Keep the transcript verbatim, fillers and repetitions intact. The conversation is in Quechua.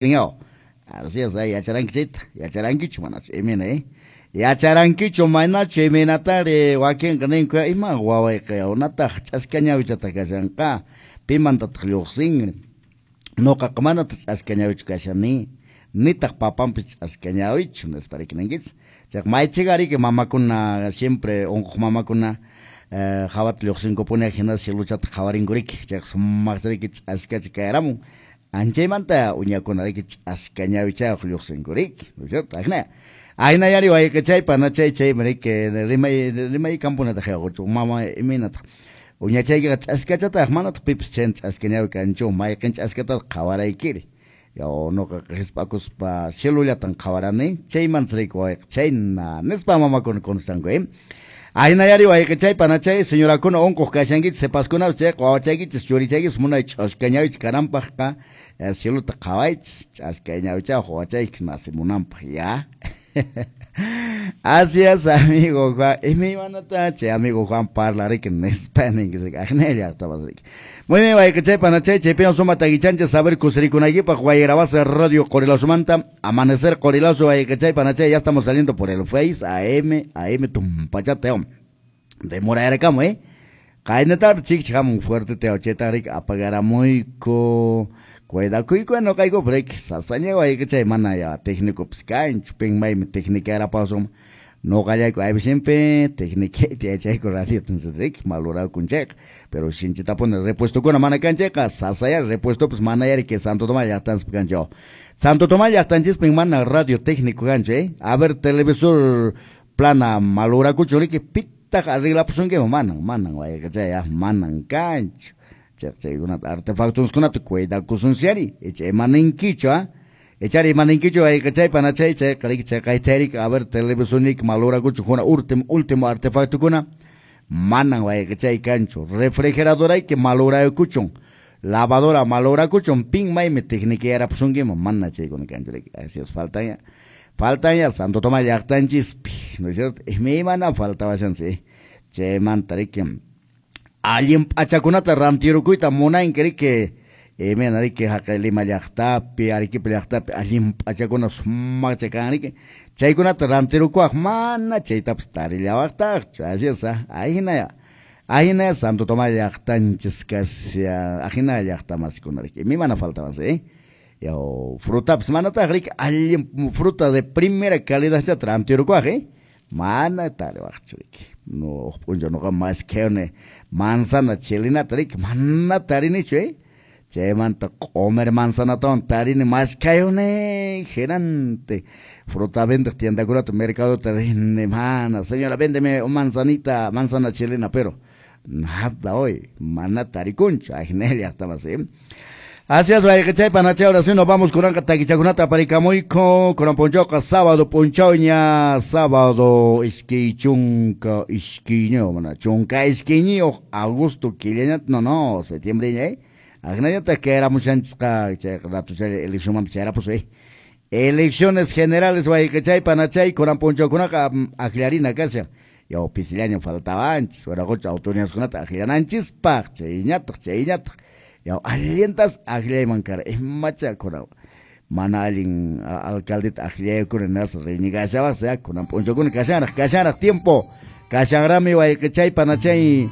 Así es, yacharankichita, yacharankichu manachu, imina, eh? Yacharankichu manachu iminatari wakinqa ninku ima wawayqa unataq ch'aska ñawichataq kashanqa, pimantataq lluqsin, nuqaqa manataq ch'aska ñawichu kashani, nitaq papanpis ch'aska ñawichu, nispa riki ninkichis. Chayqa maychika riki mamakuna siempre unquq mamakuna hawata lluqsinkupuni hina cieluchata qhawarinku riki, chayqa sumaqta riki ch'askacha kayaramun. Anchaymanta uñakuna riki ch'aska ñawichayuq lluqsinku riki, ¿no es cierto? Ajina. Ayna yari wayqichay panachay chaymi riki rimay rimay kampunataq yaquchu mama imaynataq uñachaykiqa ch'askachataq manataq pipis chayna ch'aska ñawi kanchu mayqin ch'askatataq qhawaraykiri yaw nuqaqa hisp'akuspa cielullatan qhawarani chaymanta riki wayqi chayna nispa mamakuna contestanku eh Ayna yari wayqichay panachay señorakuna unquq kashankichis sipaskunapas chayqa wawachaykichis churichaykichis munay ch'aska ñawichis kananpaqqa cieluta qhawaychis ch'aska ñawichayuq wawachaykichis nacimunanpaq ya. Así es, amigo Juan. Imaymanata chay amigo Juan parla riki nispa ninkichis ajina llaqtapas riki. Muy bien, wayqichay panachay chaypiwan suma takichanchis saber kusirikunaykipaq Guayrabasa Radio Qorilazumanta Amanecer Qorilazo wayqichay panachay ya estamos saliendo por el Face A M A M tumpachata demorarakamu eh qaynatar chikchi hamun fuerte teo chayta riki apagaramuyku cuidakuyku nuqaykupas riki sasaña wayqichay mana ya técnicopis kanchu pin maymi técnicarapasum nuqallayku aypisimpi técniqueta yachayku radio riki malurakunchayqa pero sinchitapuni repuestokuna mana kan chayqa sasaya repuestopis mana yari que Santo Tomás llaqtanchispi kanchu Santo Tomás llaqtanchispin mana radio técnico kanchu eh a ver televisor plana malurakuchu riki pitaq arreglapusunkiman manan manan wayqichay manan kanchu chaykunata artefactoskunata cuidakusunsyari icha imaninkichu ah ichari imaninkichu wayqichay panachay chayqa riki chayqayta riki a ver televisorniyki malurakuchu kuna último último artefactokuna manan wayqichay kanchu refrigeradorayki maluraykuchun lavadora malurakuchun pin maymi técnico mana chaykuna kanchu riki así es faltan ya faltan ya Santo Tomás llaqtanchispi ¿no es cierto? Imaymana faltabashansi chaymanta riki allin p'achakunata rantirukuyta munanki riki imena riki haqay Lima llaqtapi Arequipa llaqtapi allin p'achakuna sumaqcha kan riki chaykunata rantirukuwaq mana chaytapas tarillawaqtaqchu así es ahina ahina Santo Tomás llaqtanchis kasha ahina llaqtamasikuna riki imana faltaban eh yaw frutapas manataq riki allin fruta de primera calidad chata rantirukuwaq eh mana tariwaqchu riki no p'unchaw nuqa maskhayuni manzana chilinata riki mana tarinichu eh chaymanta q'umir manzanatawan tarini maskhayuni hinantin fruta vendeq tiendakunata mercadota rini mana señora véndeme manzanita manzana chilena pero nada hoy mana tarikunchu ajina llaqtamas eh Así es, wayqichay panachay, ahora sí nos vamos kunanqa takichakunata aparikamuyku kunan p'unchawqa sábado p'unchawña sábado iskay chunka iskayñiyuq mana chunka iskayniyuq agosto killañata no no septiembreña eh ajinallataq kayaramushanchisqa chayqa ratuchalla eleccionmanpas chayarapusun eh elecciones generales wayqichay panachay kunan p'unchawkunaqa aklarina kashan yaw pisillaña faltawanchis waraqucha autoridadkunata aklananchispaq chayñataq chayñataq yaw allintas akllayman kara imacha kunan mana allin alcaldeta akllaykuna nas reñigashawaq ya kunan p'unchawkuna kashanraq kashanraq tiempo kashanrami wayqichay panachay.